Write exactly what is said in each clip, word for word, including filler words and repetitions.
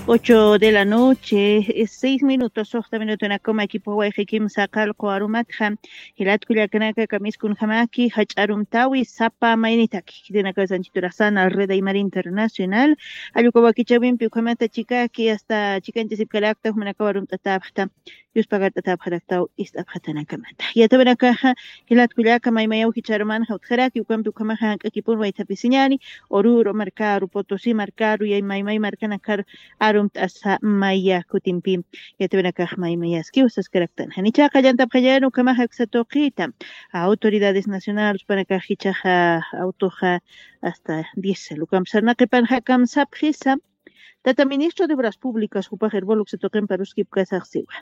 Ocho de la noche, eh, seis minutos, soxta minutunakuma equipo wayqikim saqal quwarumatxa. Jilat kullakanaka kamiskunjamaki, jach'arumtawi, sapa maynitaki. Kitinakaw sanchituraxsana, Red Aymar Internacional. Allukawakichawimpi ukhamata chikaki, hasta chikanchasipkarakta, jumanakawa rumt'atapxta. Yuspagart'atapxaraktaw ist'apxatanakamata. Yatawinakaxa, jilat kullaka maymayaw jichharumanxa utjaraki, ukampi ukhamaxa jank'akipun waythapisiñani, Oruro markaru, Potosí markaru, yay maymay markanakar arumt'asa maya kutimpi. Yatawinakax maymayaskiw saskaraktan. Janichaqa llantapxañan ukhamaxa uksa tuqita. Autoridades nacionales panakax jichhaxa autoxa hasta diez. Ukampi sarnaqi panxa kamsapxisa. Tata ministro de Obras Públicas, jupax Herbol uksa tuqimpa ruskipkasax siwa.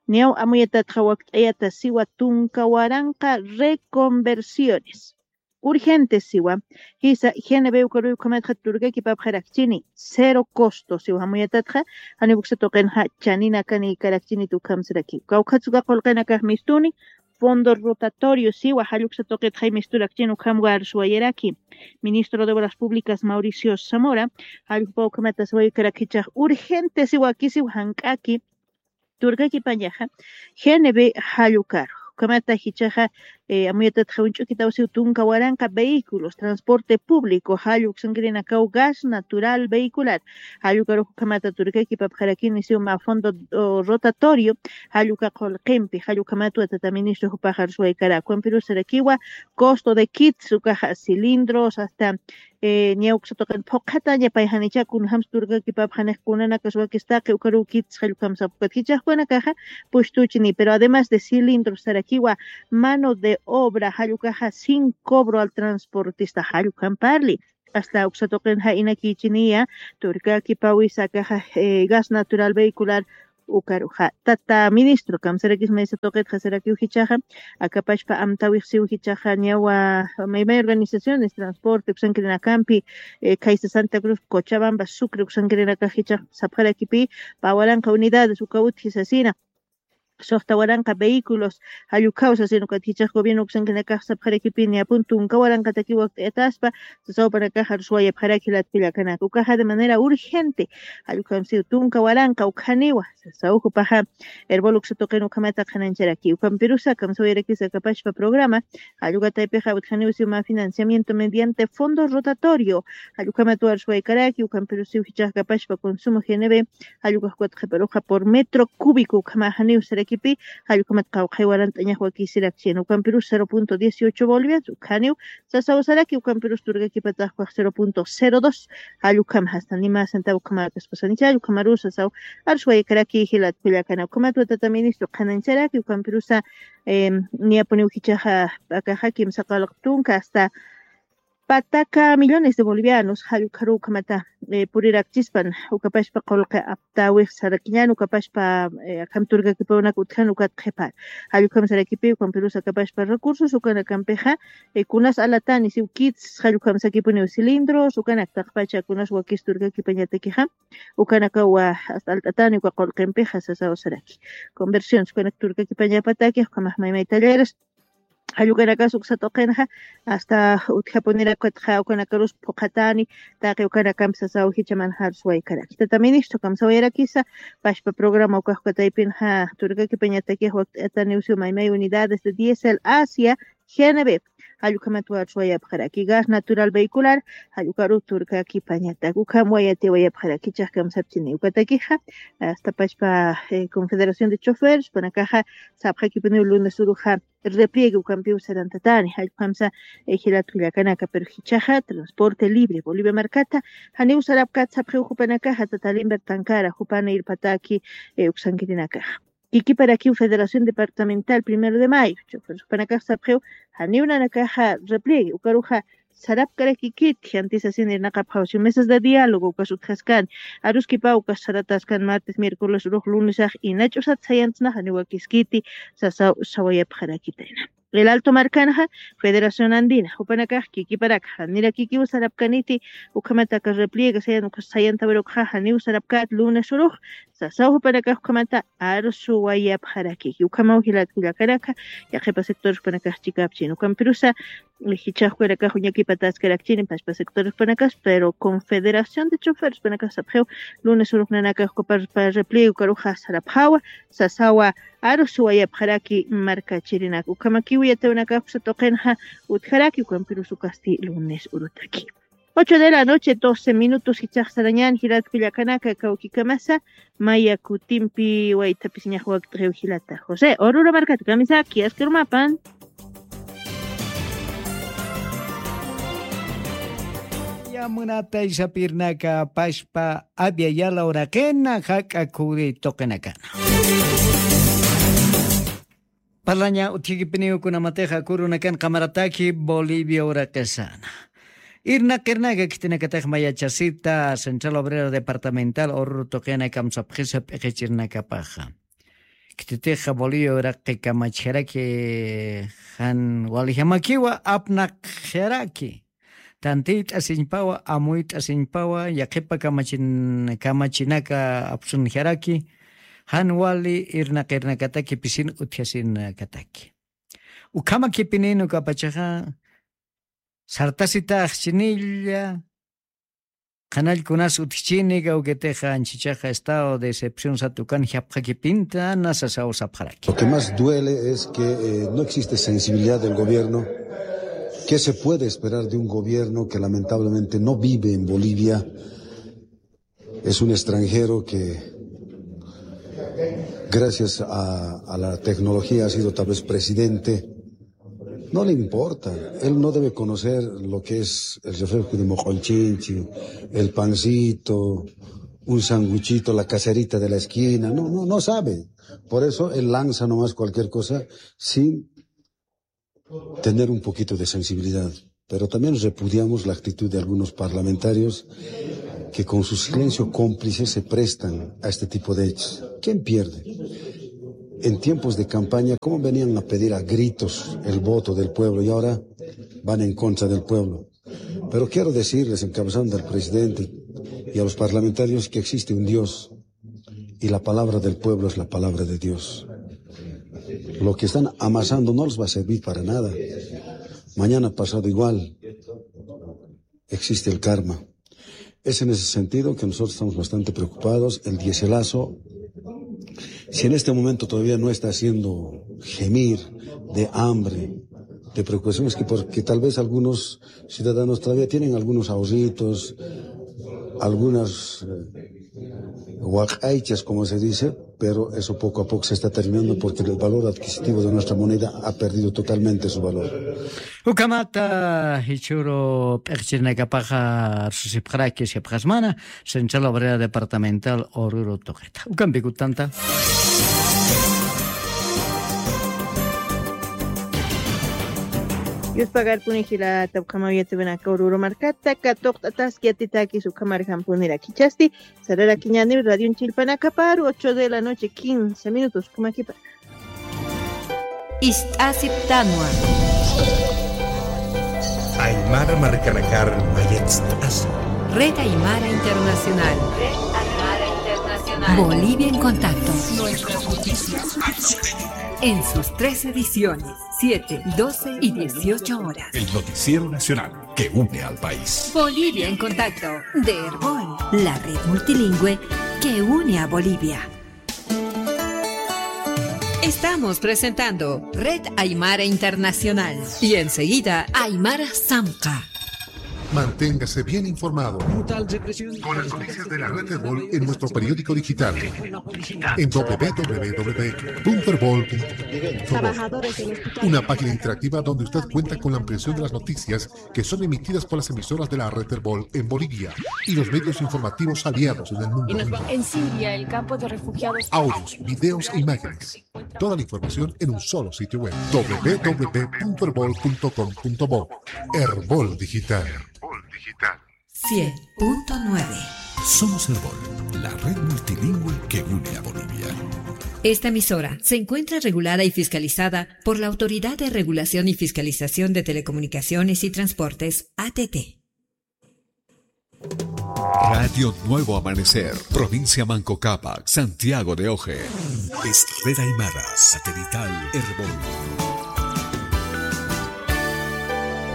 Niyaw amuyatatxa wakt'ayata siwa tunka waranqa reconversiones. Urgentes siwa. Jisa, G N B ukaruy ukhamatxa turkakipapxarakchini. Cero costo siwa amuyatatxa. Jani uksa tuqinxa chaninakani karakchini tukhamsaraki. Kawkhatsuka qulqinakax mistuni. Fondo rotatorio siwa, jalluksa tuqitxa misturakchini ukham warsuwayaraki. Ministro de Obras Públicas Mauricio Zamora, jallukpa ukhamata siwaykarak jichhax urgente siwa kisiw jank'aki, turkakipañaxa, G N B jallukaru. Ukhamata jichhaxa, eh, amuyatatxa uñch'ukitawsiw tunka waranqa vehículos, transporte público, jalluk sankirinakaw gas natural vehicular. Jallukaru ukhamata turkakipapxarakini siw mä fondo, o, rotatorio, jalluka qulqimpi, jallukamatwa tata ministro jupaxa arsuwaykarak. Ukampirus sarakiwa, costo de kits, ukaxa cilindros, hasta eh, niya uksa tuqin phuqhataña pay janicha kunjams turkakipapxanix kunanakas wakistaqi ukaruw kits jallukhamsapxkat jichhax ukanakaxa pushtuchini, pero además de cilindros sarakiwa mano de obra jallukaxa sin cobro al transportista jallukhamparli. Hasta uksa tuqin ja inakichiniya turkakipawisa akaxa, eh, gas natural vehicular ukaruxa. Tata ministro, kamsarakis maysa tuqitxa sarakiw jichhaxa, akapachpa amtawix siw jichhaxa, niyawa maymay organizaciones, transporte, uksankirinakampi, eh, khaysa Santa Cruz, Cochabamba, Sucre, uksankirinakax jichhax sapxarakipi, pä waranqa unidades, uka utji sasina, suxta waranqa vehículos, jallukhaw sasina, ukat jichhax gobierno uksankirinakax sapxarakipi, niyapun tunka waranqataki wakt'ayataspa, sasaw panakax arsuwayapxaraki jilat kullakanaka. Ukaxa de manera urgente, jallukhamsiw tunka waranqa ukhaniwa, sasaw jupaxa, Herbol uksa tuqin ukhamata qhanañcharaki. Ukampirusa, kamsawayarakisa akapachpa programa, jallukataypixa utjaniw siw mä financiamiento mediante fondo rotatorio, jallukhamat warsuwaykaraki, ukampirusiw jichhax akapachpa consumo G N B, jallukhax ukatxa qhiparuxa por metro cúbico ukhamaxaniw sarakipi, jallukhamat qawqhay warant'añax wakisirakchini, ukampirus cero punto dieciocho bolivianos, ukhaniw, sasaw saraki, ukampirus turkakipatax ukax cero punto cero dos, jallukham hasta nima centavo ukhamakaspasañcha, jallukhamarus sasaw arsuwaykaraki jilat kullakana. Ukhamatwa tata ministro qhanañcharaki, ukampirusa, em, niyapuniw jichhaxa, akaxa kimsa qawlaq tunka hasta pataka millones de bolivianos, jallukharu ukhamata, eh, purirakchispan, ukapachpa qulqi aptawix sarakiñan, ukapachpa, eh, akham turkakipawnaka utjan ukat qhipar. Jallukham sarakipi, ukampirus akapachpa recursos, ukanakampixa, eh, kunas alatani, siw kits, jallukhamsakipuniw cilindros, ukanak taqpacha kunas wakis turkakipañatakixa, ukanakawa hasta alt'atani uka qulqimpixa sasaw saraki. Conversiones, ukanak turkakipañapataki, ukhamax maymay talleres, jallukanakas uksa tuqinxa, hasta utjapunirakwatxa ukanakarus phuqhatani, taqi ukanakampi sasaw jichhamanxa arsuwaykaraki. Tata ministro, kamsawayarakisa, pachpa programa ukax ukataypinxa, turkakipañatakix wakt'atani usiw maymay unidades de diésel Asia, G N B, jallukhamat warsuwayapxaraki, gas natural vehicular, jallukaru turkakipañatak, ukham wayatiwayapxaraki, jichhax kamsapchini. Ukatakixa, hasta pachpa, eh, Confederación de Chofers, panakaxa, sapxakipuniw lunes uruxa, repliegue ukampiw sarantatani, jallukhamsa, eh, jilat kullakanaka, pero jichhaxa, transporte libre, Bolivia markata, janiw sarapkat sapxiw jupanakaxa, tata Limber Tancara, jupana irpataki, eh, uksankirinakaxa. Kikiparakiw Federación Departamental Primero de Mayo, chofer jupanakax sapxiw, janiw nanakaxa repliegue, ukaruxa sarapkarakikit, jiantisasini irnaqapxaw, siw mesas de diálogo, ukas utjaskani, aruskipaw ukas sarataskan martes, miércoles, urux lunesax, ina ch'usat sayantsna, janiw wakiskiti, sasaw sawayapxarakitayna. El Alto markanxa, Federación Andina, jupanakax kikiparak, janirakikiw sarapkaniti, ukhamataka repliegue sayan, ukas sayantawirukxa, janiw sarapkat, lunes urux, sasaw jupanakax ukhamata arsuwayapxarakiki. Ukhamaw jilat kullakanaka, yaqhipa sectores jupanakax chikapchin. Ukampirusa, eh, jichhax jupanakax uñakipataskarakchini, phaspa sectores jupanakas, pero Confederación de Choferes jupanakax sapxiw, lunes urux nanakax ukapar pa repliego karuxa sarapxawa, sasawa arsuwayapxaraki markachirinaka. Ukhamakiw yatiyawinakax uksa tuqinxa utjaraki, ukampirus ukasti lunes urutaki. Ocho de la noche, doce minutos, jichhax sarañän jilat kullakanaka, kawkikamasa maya kutimpi waytha pisiñax wakt'ixiw jilata José. Oruro markata kamisaki, askharumapan. Ya munatay sapirnaka, phaspa Abya Yala uraqina, jak'a khuri tuqinakana. Parlaña utjikipiniw kunamatixa kurunakan qamarataki Bolivia uraqisana. Irnaqirnaka khitinakatix mayachasita Central Obrera Departamental Oruro tuqina kamsapxisa p'iqichirnakapaxa. Khititixa Bolivia uraqi kamachjaraki, jan walijamakiwa apnaqjaraki. Tantiyt'asiñpawa, amuyt'asiñpawa, yaqhipa kamachin-, kamachinaka apsunjaraki, jan wali irnaqirnakataki pisin utjasinakataki. Ukhamakipinïn ukapachaxa, sartasitaxchinilla, qhanall kunas utjchini, kawkitixa anchichaxa estado de excepción sat ukan japxakipinta, na sasaw sapxaraki. Lo que más duele es que, eh, no existe sensibilidad del gobierno. ¿Qué se puede esperar de un gobierno que lamentablemente no vive en Bolivia? Es un extranjero que, gracias a, a la tecnología, ha sido tal vez presidente. No le importa. Él no debe conocer lo que es el refresco de Moq'onchinchi, el pancito, un sanguchito, la caserita de la esquina. No, no, no sabe. Por eso él lanza nomás cualquier cosa sin tener un poquito de sensibilidad. Pero también repudiamos la actitud de algunos parlamentarios que con su silencio cómplice se prestan a este tipo de hechos. ¿Quién pierde? En tiempos de campaña, ¿cómo venían a pedir a gritos el voto del pueblo y ahora van en contra del pueblo? Pero quiero decirles, encabezando al presidente y a los parlamentarios, que existe un Dios. Y la palabra del pueblo es la palabra de Dios. Lo que están amasando no les va a servir para nada. Mañana pasado igual. Existe el karma. Es en ese sentido que nosotros estamos bastante preocupados. El diéselazo, si en este momento todavía no está haciendo gemir de hambre, de preocupación, es que porque tal vez algunos ciudadanos todavía tienen algunos ahorritos, algunas, eh, waq'aychas, como se dice, pero eso poco a poco se está terminando porque el valor adquisitivo de nuestra moneda ha perdido totalmente su valor. Ukhamata jichhüru p'iqichirnakapaxa arsusipxaraki, sipxasmana, Central Obrera Departamental Oruro tuqita. Ukampi kutanta. Yuspagarpuni jilata, ukhamaw yatiyawinaka Oruro markata katuqt'ataski, yatitakis ukhamarjampuniraki. Jichhasti sararakiñäniw radion chillpanakaparu, ocho de la noche, quince minutos, ukhamakipar. Ist'asiptanwa. Aymara markanakar mayatst'asa. Red Aymara Internacional. Red Aymara Internacional. Bolivia en Contacto. Nuestras noticias. En sus tres ediciones, siete, doce y dieciocho horas. El noticiero nacional que une al país. Bolivia en Contacto, de Erbol, la red multilingüe que une a Bolivia. Estamos presentando Red Aymara Internacional y enseguida Aymara Samka. Manténgase bien informado con las noticias de la red Erbol en nuestro periódico digital en w w w punto erbol punto bo. Una página interactiva donde usted cuenta con la ampliación de las noticias que son emitidas por las emisoras de la red Erbol en Bolivia y los medios informativos aliados en el mundo. En Siria, el campo de refugiados. Audios, videos e imágenes. Toda la información en un solo sitio web. w w w punto erbol punto com punto bo. Erbol Digital. Cien punto nueve. Somos Erbol, la red multilingüe que une a Bolivia. Esta emisora se encuentra regulada y fiscalizada por la Autoridad de Regulación y Fiscalización de Telecomunicaciones y Transportes, A T T. Radio Nuevo Amanecer, provincia Manco Cápac, Santiago de Oje. Es Red Aymara, satelital, Erbol.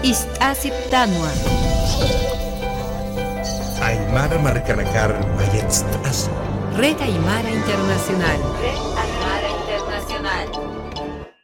Ist'asiptanwa. Aymara markanakar mayatst'asi. Red Aymara Internacional.